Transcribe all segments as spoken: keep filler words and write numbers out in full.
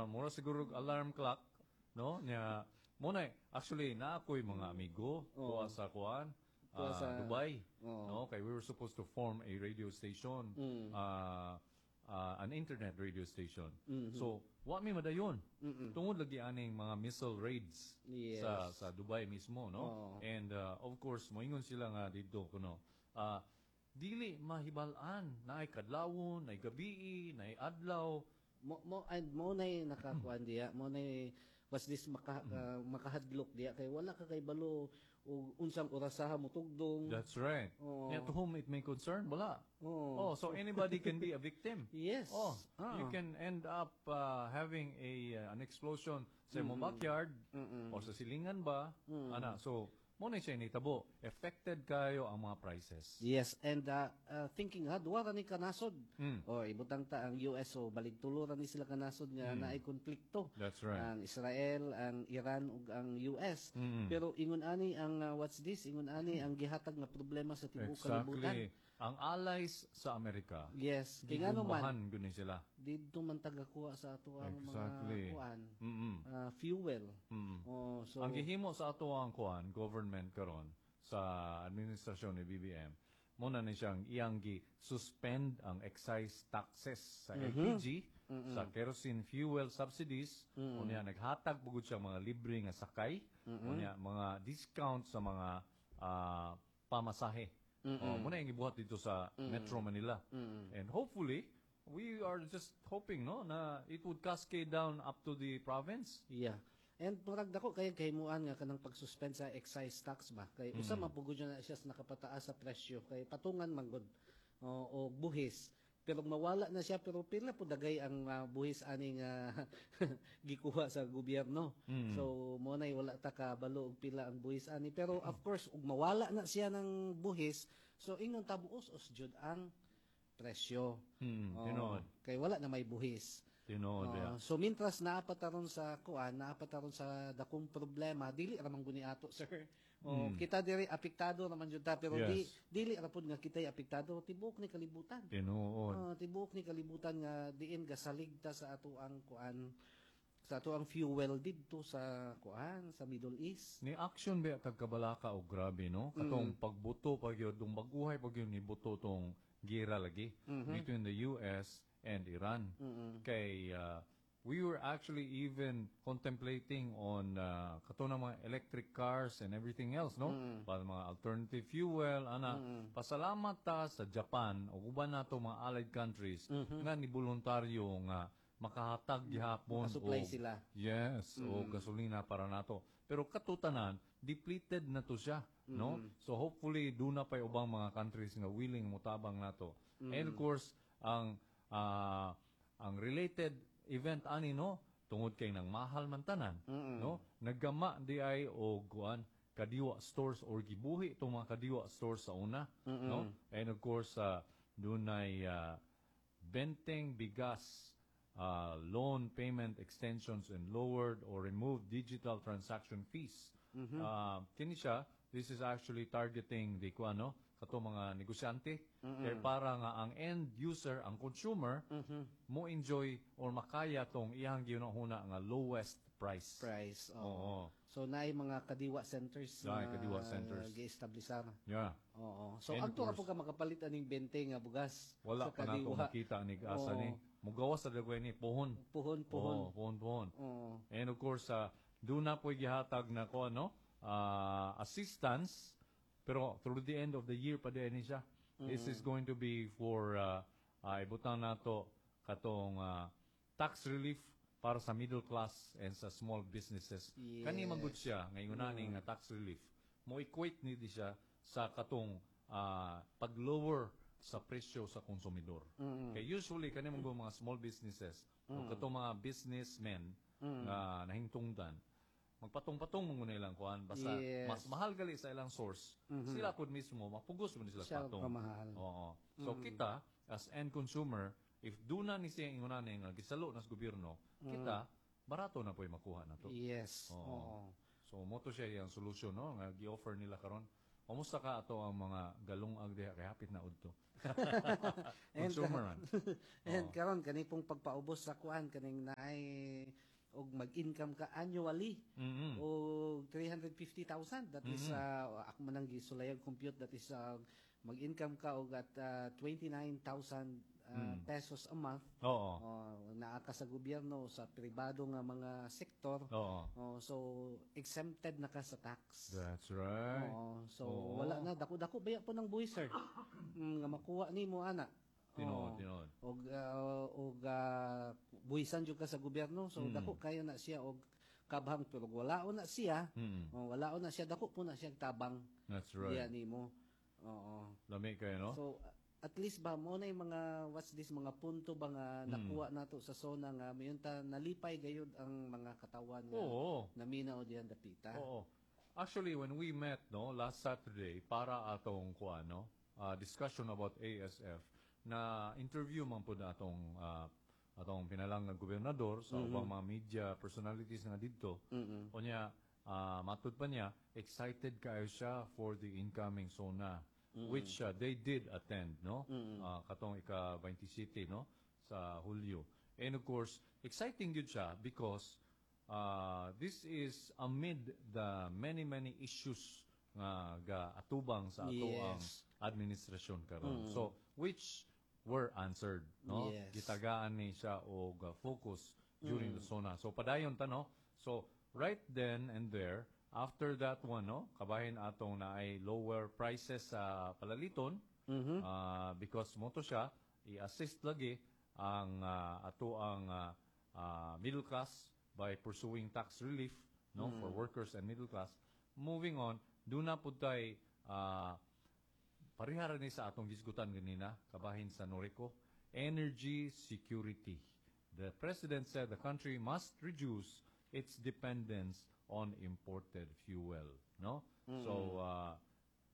Mura mura siguro og alarm clock, no? Nya mo na actually na ako'y mga amigo kuha sa kuan Kuha ah, sa- Dubai. Oo. No, kay we were supposed to form a radio station, Mm. uh, uh, an internet radio station. Mm-hmm. So, wa mi madayon. Tungod lagi aning mga missile raids Yes. sa sa Dubai mismo, no? Oo. And uh, of course, moingon sila nga didto kuno. Uh, dili mahibal-an naay kadlawon, naay gabii, naay adlaw. Mo mo and mo nay nakakuan diya, mo nay was this maka, uh, makahadlok diya kay wala ka kay balo og unsang orasaha mo tugdong. That's right. Oo. Yeah, to whom it may concern, wala. Oo. Oh, so anybody can be a victim. Yes. Oh, Ah. you can end up uh, having a uh, an explosion sa imong backyard or sa silingan ba. Ana, so mo na siya nitabo. Affected kayo ang mga prices. Yes, and uh, uh, thinking ha, duwa ra ni kanasod. Mm. O ibutang ta ang U S o balig tulo ra ni sila kanasod nga naay konflikto. Mm. That's right. Ang Israel, ang Iran ug ang U S. Mm. Pero ingon ani ang uh, what's this? Ingon ani ang gihatag nga problema sa tibuok kalibutan. Exactly. Ang allies sa Amerika. Yes, kay ngano man Gibombahan gud ni sila. Didto man tagakuha sa ato ang Exactly. mga kuan, Mm. ah, fuel. Mm. Oh, so Ang gihimo sa ato ang kuan government karon sa administrasyon ni B B M mo na ni siyang iyang gi suspend ang excise taxes sa L P G, sa kerosene fuel subsidies. Unya naghatag pugod siya mga libre nga sakay, unya mga discount sa mga ah, pamasahe. Oh, mo na yung gibuhat dito sa Metro Manila. And hopefully, we are just hoping, no, na it would cascade down up to the province. Yeah. And murag dako kay kahimuan nga kanang pag-suspend sa excise tax ba kay usa man pugod na siya sa nakapataas sa presyo kay patungan man gud o, og buhis. Pero mawala na siya, pero pila po dagay ang ah, buhis aning ah, gikuha sa gobyerno. So mo nay wala ta kabalo og pila ang buhis ani, pero of course ug mawala na siya ng buhis, so ingon ta muus-us jud ang presyo. Mm, Oh, tinuod. Kay wala na may buhis. Tinuod, Oh, yeah. so mintras naa pa ta ron sa kuan, naa pa ta ron sa dakong problema, dili ra man guni ato, sir. Oh, kita diri apektado naman jud ta, pero di Yes. dili ra pud nga kita'y apektado, tibuok ni kalibutan. Tinuod. Oh, tibuok ni kalibutan nga diin gasalig ta sa ato ang kuan, sa ato ang fuel didto sa kuan, sa Middle East. Ni action ba tag kabalaka og grabe, no? Katong pagbuto pag yun, dung baguhay pag yun ni buto tong gira lagi between the U S and Iran. Kay uh, we were actually even contemplating on uh, kato na mga electric cars and everything else, no? Para mga alternative fuel, ana. Pasalamat ta sa Japan o uban nato mga allied countries nga ni voluntaryo nga makahatag gihapon Makasupply og- sila. Yes, o gasolina para nato. Pero katutanan, depleted na to siya, no? So hopefully duna pay ubang mga countries nga willing motabang nato. And of course, ang ah, ang related event ani, no, tungod kay nang mahal man tanan, no? Naggama di ay og kuan kadiwa stores or gibuhi itong mga kadiwa stores sa una, no? And of course, uh, dunay uh, benteng bigas uh, loan payment extensions and lowered or removed digital transaction fees. Uh, kini siya, this is actually targeting the kuan, no, kato mga negosyante kay para nga ang end user, ang consumer, mo enjoy or makaya tong iyang gihuna nga lowest price. Price. Oo. Oo. So naay mga kadiwa centers Naay na kadiwa centers. gi-establisar. Yeah. Oo. So And agto ra course- po ka makapalit aning bente nga bugas Wala sa pa nato kadiwa. makita ni asa Oo. ni. Mugawas sa dagway ni pohon. Puhon, puhon. Oo, pohon, pohon. Oo. And of course, uh, doon na po gihatag na ko ano, ah, assistance pero through the end of the year pa din siya. This is going to be for uh, uh, ibutang nato katong ah, tax relief para sa middle class and sa small businesses. Yes. Kani man gud siya ngayon mm. nga tax relief. Mo equate ni di siya sa katong ah, pag-lower sa presyo sa konsumidor. Kay usually kani man gud mga small businesses o katong mga businessmen nga nahingtungdan, magpatong-patong mo muna ilang kuan basta Yes. mas mahal gali sa ilang source, sila pud mismo mapugos mo ni sila Siya patong. pamahal. Oo. So kita as end consumer, if duna ni siya ingon ani nga gisalo na sa gobyerno, kita barato na po'y makuha na to. Yes. Oo. Oo. So mo to siya yung solution, no, nga gi-offer nila karon. Kumusta ka ato ang mga galungag diha kay hapit na udto. And, Consumer man. And karon kani pong pagpaubos sa kuan kaning naay og mag-income ka annually Mm-mm. og three hundred fifty thousand, that is uh, ako man ang gisulayag compute, that is uh, mag-income ka og at uh, twenty-nine thousand uh, pesos a month. Oo. Oh, naa ka sa gobyerno o sa pribado nga mga sektor. Oo. Oh, so exempted na ka sa tax. That's right. Oo, so Oo. wala na, dako-dako baya po ng buwis, sir. Mm, nga makuha nimo ana. Tinuod, Oo. Tinuod. Og uh, og uh, buwisan jud ka sa gobyerno, so Mm. dako kayo na siya og kabhang, pero wala na siya. Mm. Oh, wala na siya, dako po na siya tabang That's diya right. nimo. Oo. Lami kayo, no? So at least ba mo na yung mga, what's this, mga punto ba nga Mm. nakuha nato sa SONA nga mayon ta nalipay gayud ang mga katawan nga Oo. naminaw diyan dapita. Oo. Actually, when we met, no, last Saturday, para atong kuan, no, uh, discussion about A S F, na interview man po na atong uh, atong pinalang nga gobernador sa ubang mga media personalities nga didto. Mm-mm. Unya, uh, matud pa niya, excited kayo siya for the incoming SONA, which uh, they did attend, no? Uh, katong ika twenty-seven, no? Sa Hulyo. And of course, exciting yun siya because uh, this is amid the many, many issues nga ga atubang sa ato ang Yes. administrasyon karon. So, which were answered, no? Yes. Gitagaan ni siya og uh, focus during the SONA. So padayon ta, no. So right then and there, after that one, no, kabahin atong naay lower prices sa palaliton uh, because mo to siya i-assist lagi ang uh, ato ang uh, uh, middle class by pursuing tax relief, no, for workers and middle class. Moving on, duna pud tay uh, parehara ni sa atong gisgutan ganina kabahin sa Noreco, energy security. The president said the country must reduce its dependence on imported fuel, no? So uh,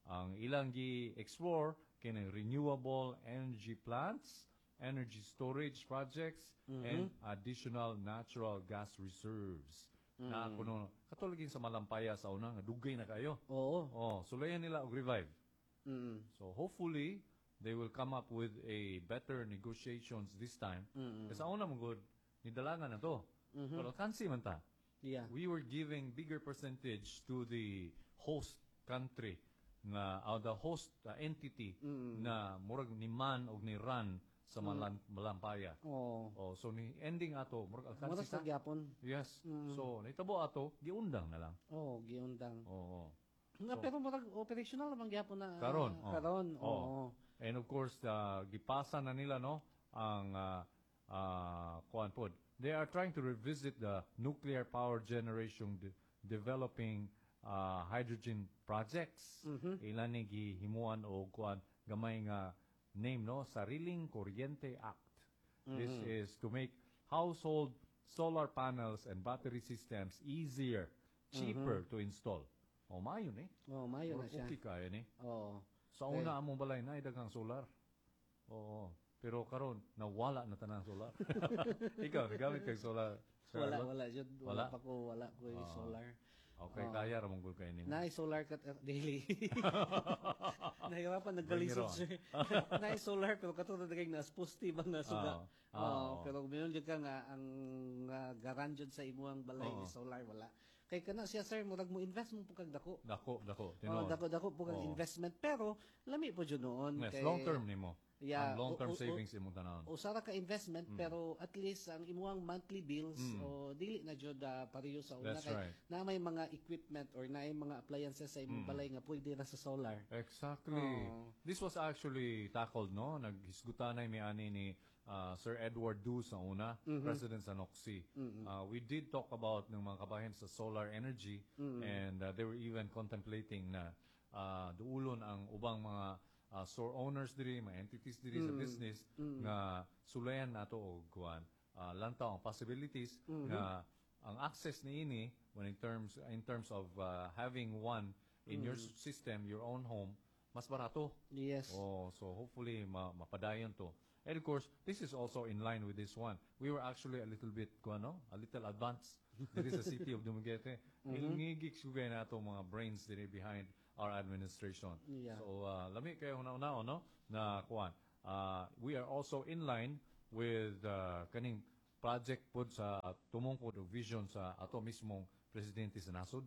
ang ilang gi-explore kini renewable energy plants, energy storage projects, and additional natural gas reserves. Na kuno katulad sa Malampaya sa una nga dugay na kayo. Oo. Oh, sulayan nila og revive. Mm. So hopefully they will come up with a better negotiations this time. Kasi sa una mo good, nidalangan na to. Pero kansi man ta. Yeah. We were giving bigger percentage to the host country nga uh, the host uh, entity na murag ni man og ni run sa Malan- Malampaya. Oo. Oh, so ni ending ato murag alkansi Mura sa ta. gyapon. Yes. So nitabo ato, giundang na lang. Oo, giundang. Oo. Nga pero murag operational naman gyapon na Karon, oh. Karon, Oh. oo. And of course, uh, gipasa na nila, no, ang uh, uh, kuan pod. They are trying to revisit the nuclear power generation de- developing uh, hydrogen projects. Ilan ni gihimuan og kuan gamay nga name, no, Sariling Kuryente Act. This is to make household solar panels and battery systems easier, cheaper to install. Oh, maayo ni. Oh, maayo na Murag siya. Okay kaya ni. Oo. Sa una among balay na daghang solar. Oo. Pero karon nawala na tanang solar. Ikaw, nagamit kag solar, Sir Wala, Arlo? wala jud, Wala? wala pa ko, wala ko yung solar. Okay, kaya ra mong gud kay nimo. Naay solar kat uh, daily. Nahirapan nagkalisod, Bring it on. Sir. Naay solar pero kato na dagay nas poste ba nga suga. Ah, ah, Oo, oo. pero meron jud ka nga ang uh, garan jud sa imuhang balay Oo. ni solar, wala. Kay kana siya, sir, murag mo invest mo po kag dako. Dako, dako. Oh, Tinuod. dako dako po kag Oo. investment, pero lami po jud noon Yes, kay long term nimo. Yeah, Ang long term o- o- o- savings imong tanawon. Usa ra ka investment Mm. pero at least ang imuhang monthly bills o dili na jud uh, pareho sa una That's kay right. na may mga equipment or na may mga appliances sa imong Mm. balay nga pwede ra sa solar. Exactly. Oo. This was actually tackled, no? Naghisgutanay mi ani ni uh, Sir Edward Du sa una, President sa N O C C. Uh, we did talk about ng mga kabahin sa solar energy and uh, they were even contemplating na uh, duulon ang ubang mga uh, store owners diri, mga entities diri sa business nga sulayan nato og kuan uh, lantaw ang possibilities nga ang access niini when in terms in terms of uh, having one in your system, your own home, mas barato. Yes. Oh, so hopefully ma mapadayon to. And of course, this is also in line with this one. We were actually a little bit, kuno, a little advanced diri sa City of Dumaguete. Mm-hmm. Ilngigik sugay na ato mga brains diri behind our administration. Yeah. So uh, lami kayo una-una no na kuan. Uh, we are also in line with uh, kaning project pod sa tumong pod og vision sa ato mismong presidente sa nasod.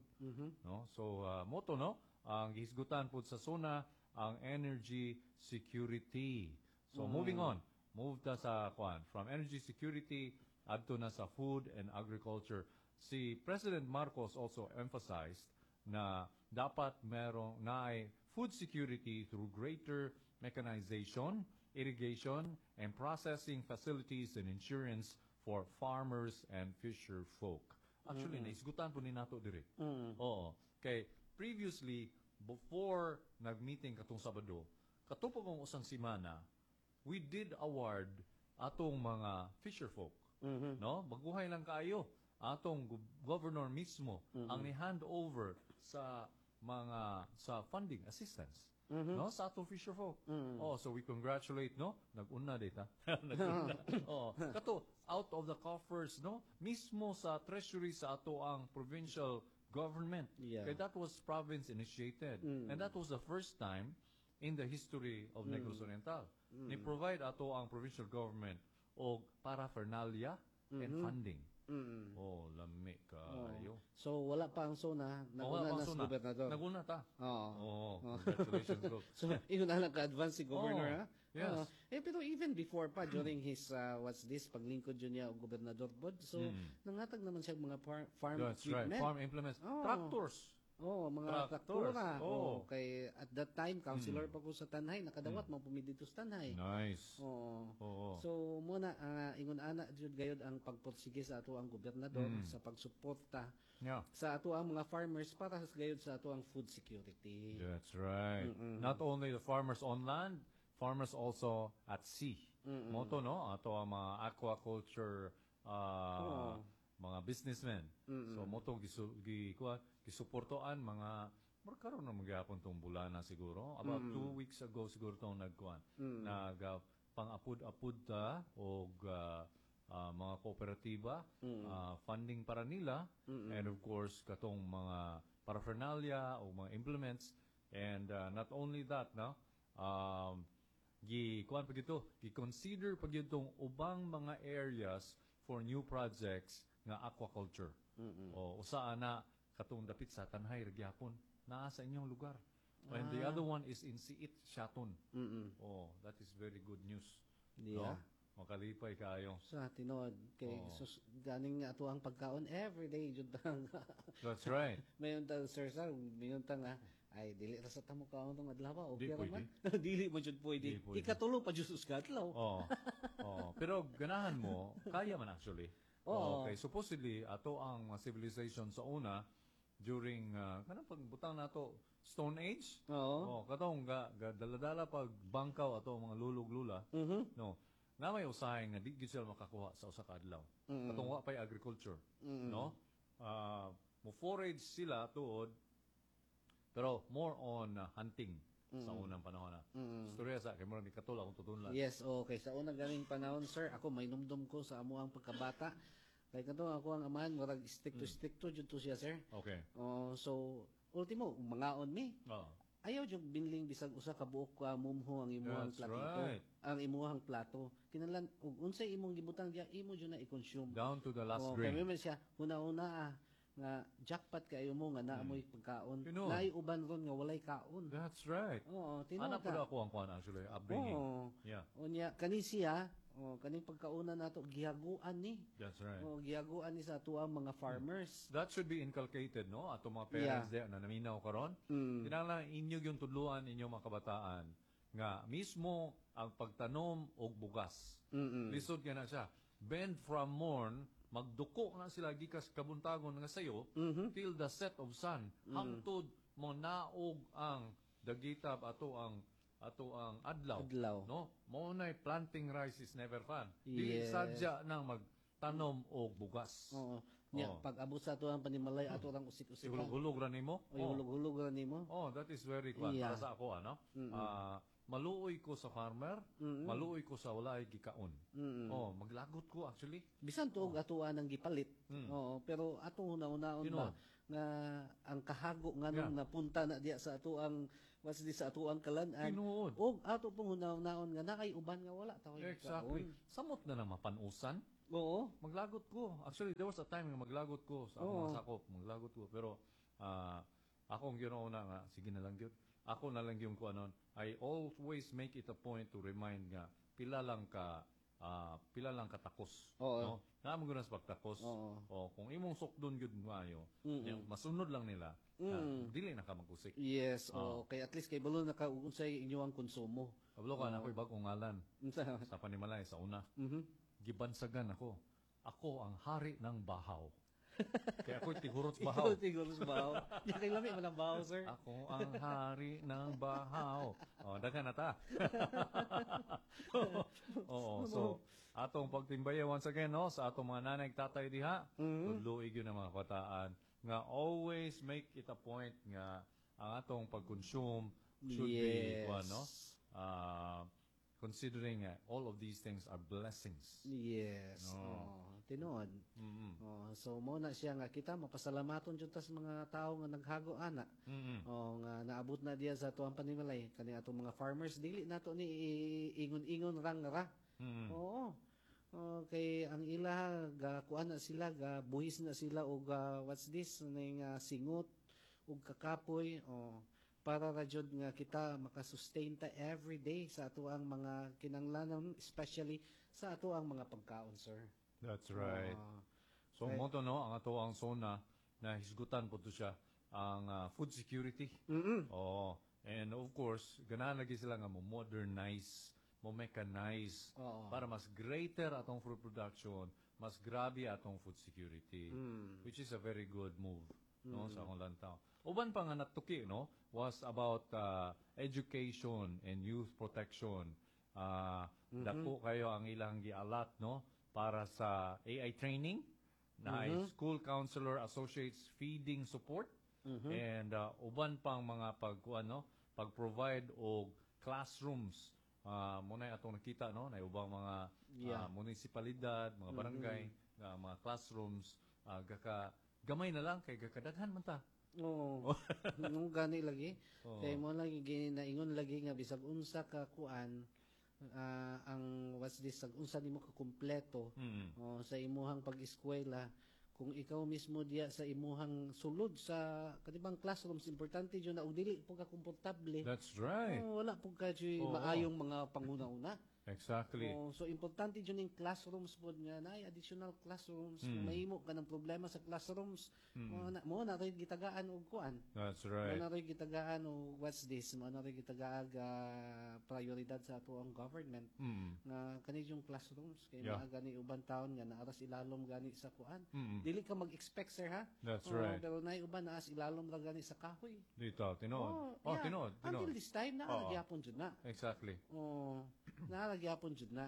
No? So uh, mao to no ang gihisgutan pod sa SONA ang energy security. So moving on, move ta sa kuan from energy security adto na sa food and agriculture. Si President Marcos also emphasized na dapat merong naay food security through greater mechanization, irrigation, and processing facilities and insurance for farmers and fisher folk. Actually, mm naisgutan po ni nato diri. Oo. Kay previously before nag-meeting katong Sabado, kato pa kong usang semana, we did award atong mga fisher folk. No? Baguhay lang kaayo atong gu- governor mismo ang ni-hand over sa mga sa funding assistance no sa atong fisher folk. Oh, so we congratulate no nag-una data. Nag-una. oh, kato out of the coffers no mismo sa treasury sa ato ang provincial government. Yeah. Kay that was province initiated. And that was the first time in the history of Negros Oriental. Ni provide ato ang provincial government og paraphernalia and funding. Oh, lami kaayo. So wala pa ang SONA, Oh, wala naguna pang na sa SONA. gobernador. Naguna ta. Oo. Oh, congratulations, Gov. So, ingon na lang ka-advance si governor, Oh, ha? yes. Oo. eh, pero even before pa, during his, uh, what's this, paglingkod yun niya og gobernador pod. So, nangatag naman siya og mga par- farm Hmm. That's right. equipment. Farm implements. Oh. Tractors. Oh, mga Tractors. traktora. Oh. Oh. Kay at that time councilor pa ko sa Tanjay, nakadawat mm. man dito sa Tanjay. Nice. Oo. Oo. So muna uh, ingon ana jud gayud ang pagpursige sa ato ang gobernador Mm. sa pagsuporta Yeah. sa ato ang mga farmers para sa gayud sa ato ang food security. That's right. Not only the farmers on land, farmers also at sea. Mao to no, ato ang mga aquaculture uh, mga businessmen. So mao to gisu, gi, kuha, gisuportoan mga Mura karon na magyapon tong bulana siguro. About two weeks ago siguro tong nagkuan. Nag uh, pang-apud-apud ta og uh, uh, mga kooperatiba, uh, funding para nila and of course katong mga paraphernalia o mga implements and uh, not only that no um gi kuan pa gito gi-consider pa gyud tong ubang mga areas for new projects nga aquaculture. O usa ana katong dapit sa Tanjay ra gyapon naa sa inyong lugar. And the other one is in Siit, Siaton. Oh, that is very good news. Yeah. No? Makalipay kaayo. Sa tinuod kay sus, ganing ato ang pagkaon every day jud ang That's right. Mayon ta sir sir, mayon ta nga ay dili ra sa tamo kaon tong adlaw okay Di ra man. dili man jud pwede. Di pwede. Ikatulo pa jud sa adlaw. Oh. Oh, pero ganahan mo, kaya man actually. Oo. Okay, supposedly ato ang mga civilization sa una during uh, kanang pagbutang nato Stone Age. Oo. Oh, katong ga, ga dala-dala pag bangkaw ato ang mga lulog lula. Mhm. No. Na may usahay nga di gyud sila makakuha sa usa ka adlaw. Katong wa pay agriculture, no? Ah, mo forage sila tuod pero more on uh, hunting sa unang panahon na. Istorya sa kay murag ni katol akong tutunlan. Yes, okay. Sa unang ganing panahon, sir, ako may numdum ko sa amo ang pagkabata. Kay kato ako ang amahan murag stick to stick to jud to siya, sir. Okay. Oh, so ultimo mangaon mi. Oo. Ayaw jud binling bisag usa ka buok ka mumho ang imuhang That's platito. right. Ang imuhang plato. Kinahanglan ug unsay imong gibutang diya imo jud na i-consume. Down to the last Oh, grain. kay man siya huna-huna ah, nga jackpot kayo mo nga naa mo'y pagkaon. Tinuod. Naay uban ron nga walay kaon. That's right. Oo, tinuod Anak ka. po ako ang kuan actually, upbringing. Oo. Yeah, Unya kani siya, oh, kaning pagkauna nato gihaguan ni. that's right. Oh, gihaguan ni sa ato ang mga farmers. That should be inculcated, no? Ato mga parents yeah. na naminaw karon. Mm. Kinahanglan inyo yung tudluan inyong mga kabataan nga mismo ang pagtanom og bugas. Mm-mm. Lisod kay na siya. Bend from morn, magduko na sila gikas kabuntagon nga sayo Mm-hmm. till the set of sun. Mm. Hangtod mo naog ang dagitab ato ang ato ang adlaw. Adlaw. No? Mao nay planting rice is never fun. Dili Yes. sadya nang magtanom og bugas. Oo. Nya Oo. pag abot sa ato ang panimalay ato rang usik-usik. Hulog-hulog ra nimo. O hulog-hulog ra nimo. Oh, that is very kwan Yeah. para sa ako ano. Ah, Maluoy ko sa farmer, maluoy ko sa wala ay gikaon. Oh, maglagot ko actually. Bisan tuog atoa nang gipalit. Oo, pero atong huna-hunaon ba Tinuod. nga ang kahago nganong Yeah. napunta na diya sa atoang what's this sa atoang kalan-an. Tinuod. Og ato pong huna-hunaon nga naay uban nga wala ta Exactly. Samot na lang mapanusan. Oo. Maglagot ko. Actually, there was a time nga maglagot ko sa akong Oo. mga sakop. Maglagot ko. Pero, ah, ako ang ginauna nga, sige na lang gyud. Ako na lang yung kuanon. I always make it a point to remind nga, pila lang ka, ah, pila lang katakos. Oo. No? Naa man gud sa pagtakos. Oo. O, kung imong sukdon gyud maayo, nya, masunod lang nila, na dili na ka magkusik. Yes, oo. Kay at least kay balo na ka unsay inyong konsumo. Kabalo ka na ako'y bagong ngalan Unsa? sa panimalay sa una. Mhm. Gibansagan ako. Ako ang hari ng bahaw. Kaya ako'y tigurot bahaw. Ikaw tigurot bahaw. Di kay lami man ang bahaw, sir. Ako ang hari ng bahaw. O, daghan na ta. Oo, so atong pagtimbaya once again no sa atong mga nanay ug tatay diha, mm-hmm. tudloi gyud ang mga kabataan nga always make it a point nga ang atong pag-consume should be Yes. kuan, no? Ah, considering uh, all of these things are blessings. Yes. Oh, tinuod. Mm-hmm. Oh, so mo na siya nga kita mapasalamaton jud ta sa mga tao nga naghago ana. Mm-hmm. Oh, nga naabot na diya sa atuang panimalay kani atong mga farmers dili nato ni ingon-ingon rang ra. Mm-hmm. Oo. Oh, kay ang ila ga kuan na sila ga buhis na sila og uh, what's this ning uh, singot ug kakapoy oh para ra jud nga kita makasustain ta every day sa atoang mga kinanglanon especially sa atoang mga pagkaon sir. That's right. Oh. So mo to no ang ato ang SONA na hisgutan po to siya ang ah, food security. Mm-mm. Oo. And of course, ganahan lagi sila nga mo modernize, mo mechanize Oo. para mas greater atong food production, mas grabe atong food security, Mm. which is a very good move no sa akong lantaw. Uban pa nga natuki no was about uh, education and youth protection. Uh, Dako kayo ang ilang gialat no para sa AI training na ay school counselor associates feeding support and uh, uban pang mga pag ano pag-provide og classrooms uh, mo na atong nakita no na ubang mga Yeah. uh, munisipalidad mga barangay nga mga classrooms uh, gaka gamay na lang kay gakadaghan man ta Oo. Nung gani lagi. Oo. Kay mo lagi ginaingon lagi nga bisag unsa ka kuan ah, ang what's this sag unsa nimo ka kumpleto Mm. oh, sa imuhang pag-eskwela kung ikaw mismo diya sa imuhang sulod sa kanibang classrooms importante jud na og dili po ka komportable. That's right. Oh, wala po ka jud Oo. maayong mga panguna-una. Exactly. Oh, so importante jud ning classrooms pod nga naay additional classrooms kung Mm. mahimo ka ng problema sa classrooms Mm. mo na mo na rin gitagaan og kuan. That's Mo right. na rin gitagaan og what's this mo na rin gitagaag ah, prioridad sa ato ang government Mm. nga kani yung classrooms kay Yeah. mga gani uban taon nga naaras ilalom gani sa kuan. Mm. Dili ka mag-expect sir ha. That's Oo, right. Pero naay uban naas ilalom ra gani sa kahoy. Dito, tinuod. Oh, Oh, yeah. tinuod, tinuod. Until this time naa Oo. gyapon jud na. Exactly. Oh, naa gyapon jud na.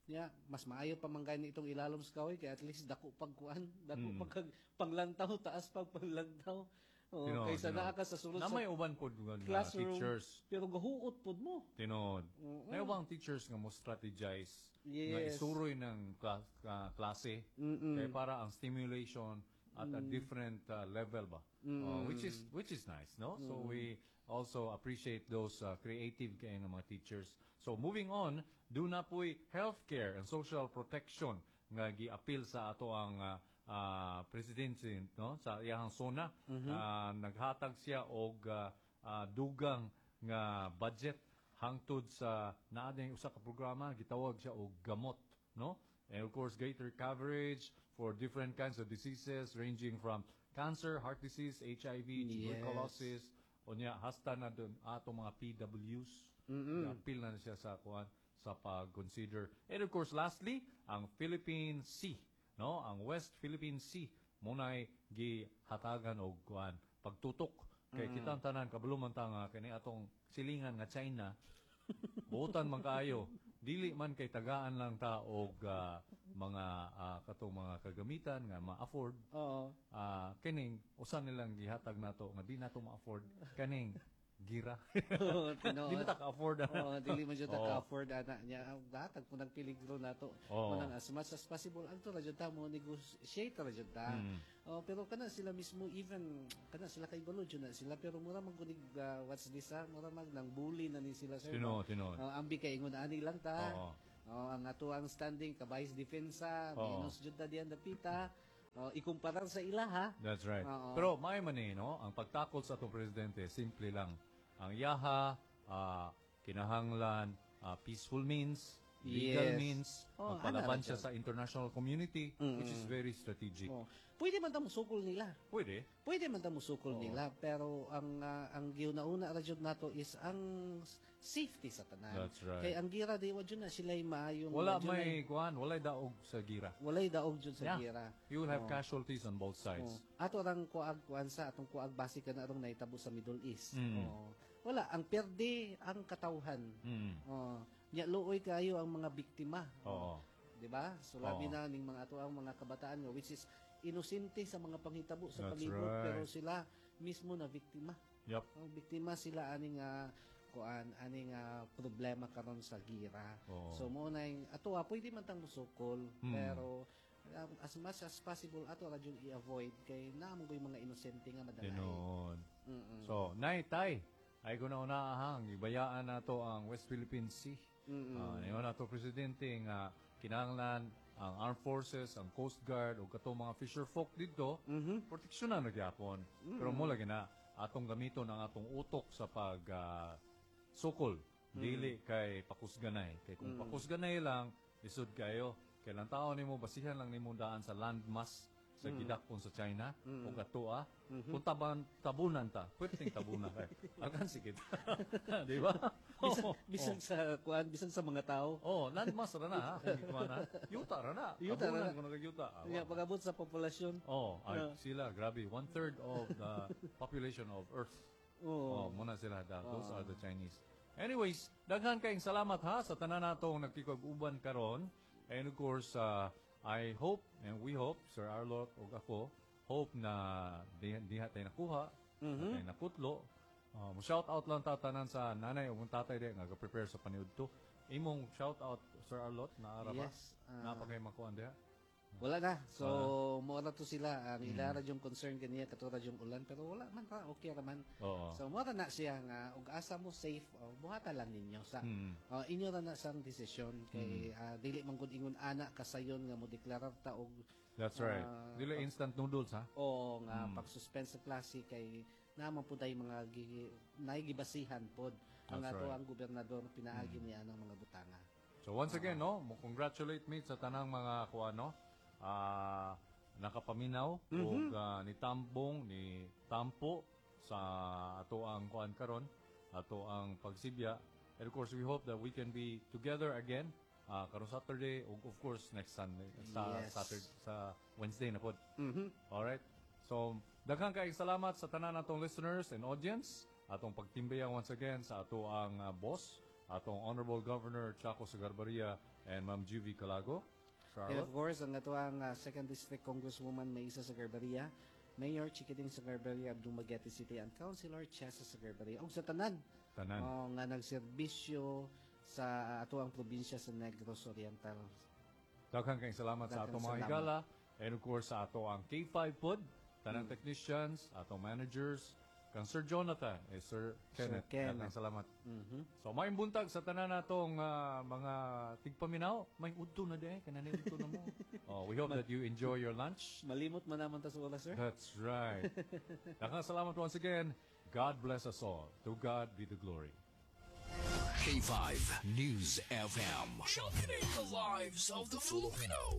Ya, mas maayo pa man gani itong ilalom sa kahoy kay at least dako pag kuan, dako Mm. pag panglantaw, taas pag panglantaw. Oh, Tinuod, kaysa tinuod. naa ka sa sulod Na sa may uban pod nga classroom. teachers. Pero gahuot pod mo. Tinuod. Oo. Na ubang teachers nga mo strategize nga Yes. isuroy ng kla- ka- klase Mm-mm. kay para ang stimulation at a different uh, level ba. Uh, which is which is nice, no? So we also appreciate those uh, creative kay nga mga teachers. So moving on, duna po'y healthcare and social protection nga gi-appeal sa ato ang uh, uh, presidente no sa iyang SONA Uh, naghatag siya og uh, uh, dugang nga budget hangtod sa naa din usa ka programa gitawag siya og gamot no and of course greater coverage for different kinds of diseases ranging from cancer heart disease HIV Yes. tuberculosis unya hasta na dun atong mga PWs mm appeal na siya sa kuan sa pag-consider and of course lastly ang Philippine Sea no ang West Philippine Sea munay gihatagan og kuan pagtutok kay kitang tanan kabalo man ta nga kini atong silingan nga China buotan man kaayo dili man kay tagaan lang ta og ah, mga ah, katong mga kagamitan nga ma-afford Oo. ah kining usa nilang gihatag nato nga di nato ma-afford kaning gira. Oo, tinuod. Di mo ta ka-afford ana. Oo, dili man jud ta Oo. ka-afford ana niya. Ang Datag po ng peligro nato. Oo. Munang as much as possible adto ra jud ta mo negotiate ra jud ta. Mm. Oh, pero kana sila mismo even kana sila kay balo jud na sila pero mura man kunig uh, what's this ah, mura mag nang bully na ni sila sir. Tinuod, tinuod. Oh, ambi kay ingon ani lang ta. Oo. Oh, ang ato ang standing kabay's depensa, Oo. minus jud ta diyan dapita. Oh, ikumparar sa ilaha. That's right. Oo. Pero may man eh, no? Ang pagtakol sa atong presidente, simple lang. Ang yaha, ah, kinahanglan, ah, peaceful means, legal Yes. means, Oh, magpalaban ana siya ra sa international community, which is very strategic. Oh, pwede man ta mosukol nila. Pwede. Pwede man ta mosukol nila pero ang ah, ang giuna-una ra jud nato is ang safety sa tanan. That's right. Kay ang gira di wa jud na sila maayong Wala wa jud na- may kuan, walay daog sa gira. walay daog jud sa Yeah. gira. You will have casualties on both sides. Oh. Ato rang kuag kuan sa atong kuag base ka na arong nahitabo sa Middle East. Mm. Oh. Wala ang perde ang katawhan. Mm. Oh. Nya luoy kayo ang mga biktima. Oo. Di ba? So labi Oo. na ning mga ato ang mga kabataan nga which is inosente sa mga panghitabo sa That's palibot right. pero sila mismo na biktima. Yep. Ang biktima sila aning ah, kuan aning ah, problema karon sa gira. Oo. So mo na yung ato ah, pwede man tang musukol Mm. pero um, as much as possible ato ra jud i-avoid kay naa mo yung mga inosente nga madalay. Tinuod. Mm-mm. So, nay tay, ay ko na unaahang ibayaan nato ang West Philippine Sea. Mm-mm. Uh, ningon nato presidente nga kinahanglan ang armed forces, ang Coast Guard ug katong mga fisher folk didto, Mhm. proteksyonan na gyapon. Pero mo lagi na atong gamiton ang atong utok sa pag ah, sukol dili kay pakusganay. Kay kung pakusganay lang lisod kayo. Kay lang tao nimo basihan lang nimo daan sa landmass sa gidakpon sa China o katoa. Kung taban tabunan ta, pwedeng tabunan kay. Alkansi kita. Di ba? Bisan, Oo. bisan sa kuan, bisan sa mga tao. Oh, landmass ra na ha. Kung gikuha na. Yuta ra na. Yuta ra Tabunan na. kung nagayuta. Ah, Nya wa. pag-abot sa populasyon. Oh, ay, Yeah. sila grabe. One third of the population of Earth. Oo. Oh, muna sila. Da, those are the Chinese. Anyways, daghan kayong salamat ha sa tanan natong nagkikag-uban karon. And of course, uh, I hope and we hope, Sir Arlot ug ako, hope na di, diha tayo nakuha, mm Mm-hmm. tayo nakutlo. Uh, mo shout out lang tatanan sa nanay ug tatay di nga prepare sa paniudto. Imong shout out Sir Arlot na ara ba? Yes, ah. Naa pa kay makuan diha. Wala na. So, mo ra to sila. Ang Mm. ila ra yung concern ganiya kato ra yung ulan pero wala man ra okay ra man. Oo. So mo ra na siya nga ug asa mo safe oh, buhata lang ninyo sa Mm. oh, inyo ra na sang desisyon kay ah, dili man gud ingon ana kasayon nga mo deklarar ta og That's right. Ah, Dili instant noodles ha. o nga Mm. pag-suspend sa klase kay naman pud ay mga gi, naigibasihan pod ang That's ato right. ang gobernador pinaagi niya ang mga butanga. So once again, no, mo congratulate me sa tanang mga kuano ah nakapaminaw ug ah, ni tambong ni tampo sa ato ang kuan karon, ato ang pagsibya. And of course, we hope that we can be together again ah karon Saturday ug of course next Sunday sa Yes. Saturday sa Wednesday na pod. Mhm. Alright. So, daghang kaayong salamat sa tanan natong listeners and audience. Atong pagtimbayang once again sa ato ang uh, boss, atong Honorable Governor Chaco Sagarbarria and Ma'am Juvie Calago. And Charlotte. of course, ang ato ang uh, Second District Congresswoman Maisa Sagarbarria, Mayor Chiquiting Sagarbarria of Dumaguete City, and Councilor Chesa Sagarbarria. Ug sa tanan, Tanan. oh, nga nagserbisyo sa ato ang probinsya sa Negros Oriental. Daghang kaayong salamat sa Daghang atong mga salamat. higala and of course sa ato ang K five pod, tanang technicians, atong managers, kang Sir Jonathan, eh, Sir Kenneth. Kenneth. Daghang salamat. Mhm. So maayong buntag sa tanan natong ah, mga tigpaminaw, may udto na di, kanani udto na mo. Oh, we hope that you enjoy your lunch. Malimot man naman ta sa oras, sir. That's right. Daghang salamat once again. God bless us all. To God be the glory. K five News F M. Championing the lives of the Filipino.